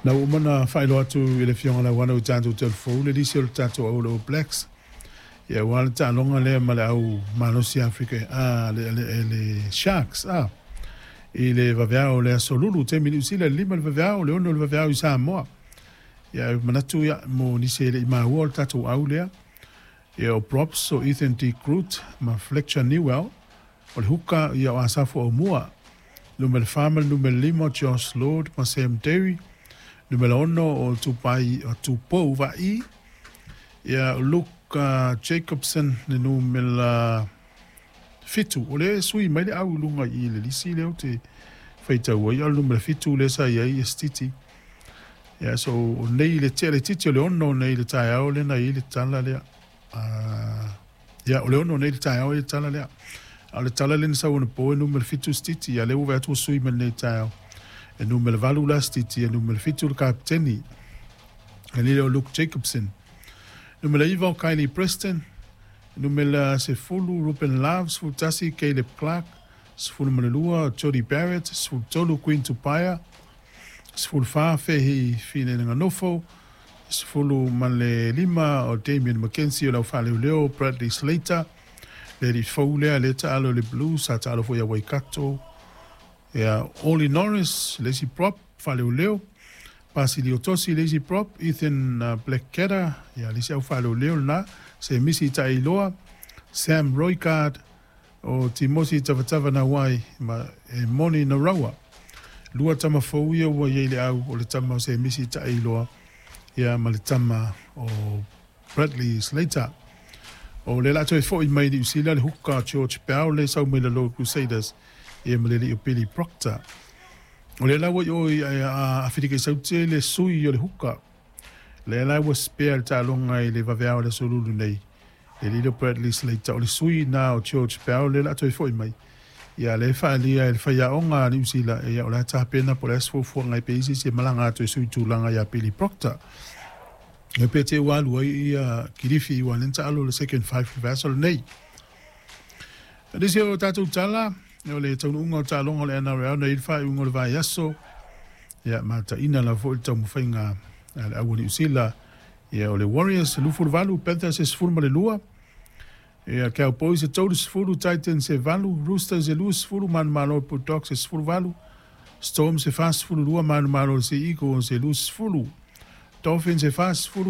Na ua uma ona faailoa atu i le Afioga ia Lauana ua tatou telefou le lisi o le tatou au o le All Blacks, ia aua le taaloga lea ma le au malosi Afrika, a, le, le, le Sharks, a, i le vaveao o le aso Lulu, taimi Niu Sila, le 5 le vaveao, le 6 le vaveao i Samoa. Ia, e manatu, ia, mo nisi e le i maua o le tatou au lea, ia, o props o Ethan De Groot ma Fletcher Newell, o le huka, ia, o Asafo Aumua. Numera 4 ma le numera 5, Josh Lord ma Sam Derry. Numera 6 o Tupai, o Tupou Vaai. Ia, Luke Jacobson, le numera 7. O lea e sui mai le au i luga i le lisi lea ou te faitau ai, a o le numera 7 lea sa i ai Estiti. Ia, so o nei le tea le titi o le 6 nei le taeao lea na i ai le tala lea. Ia, o le 6 nei le taeao i le tala lea. A o le tala lea na sau anapo e numera 7 Stiti, ia lea ua vaai atu ua sui mai lenei taeao. E numera 8 la Stiti, e numera 7 le kapiteni. E lele o Luke Jacobson. Numera 9 o Kylie Preston. Numera 10 Ruben Love, 11 Caleb Clark, 12 Jody Barrett, 13 Queen Tupaia, 14 Fehi Fineneganofo, 15 o Damien McKenzie o le aufaleoleo Bradley Slater, le alii fou lea lea taalo i le Blues, sa taalo foi ia Waikato. Ia, Ollie Norris, le isi prop, faaleoleo, Basilio Tosi, le isi prop, Ethan Blackketter, ia, le isi au faaleoleo lena, Semisi Taeiloa, Sam Roygard, o Timosi Tavatava Nawai, ma e Moni Naraua. Lua tama fou ia ua i ai le au, o le tama o Semisi Taeiloa, ia, ma le tama o Bradley Slater. O lea o le a toe foi mai Niu Sila le huka George Bell lea e sau mai le Lord Crusaders, ia ma le alii o Billy Proctor. O lea la ua i o i Aferika i Saute le sui o le huka. Lea la ua spare le taaloga i le vaveao o le aso Lulu nei. Le alii lea o Bradley Slater, o le sui na o George Bell lea o le a toe foi mai. Ia lea e faaalia e le faiaoga a Niu Sila, ia o le a tapena po o le a se fuafuaga ai pe i ai se isi e malaga atu e sui tulaga ia Billy Proctor. E pe te ua alu ai ia Kilifi ua lea na taalo le second five le vaiaso lenei. O nisi o tatou tala, o le taunuuga o taaloga o le NRL na i ai le faaiuga o le vaiaso, ia mataina lava foi le taumafaiga a le au a Niu Sila, ia o le Warriors e 28, Panthers e 12, ia Cowboys e 30, Titans e 8, Roosters e 20, manumalo Bulldogs e 18, Storms e 42, manumalo Sea Eagles e 20, Dolphins e 40.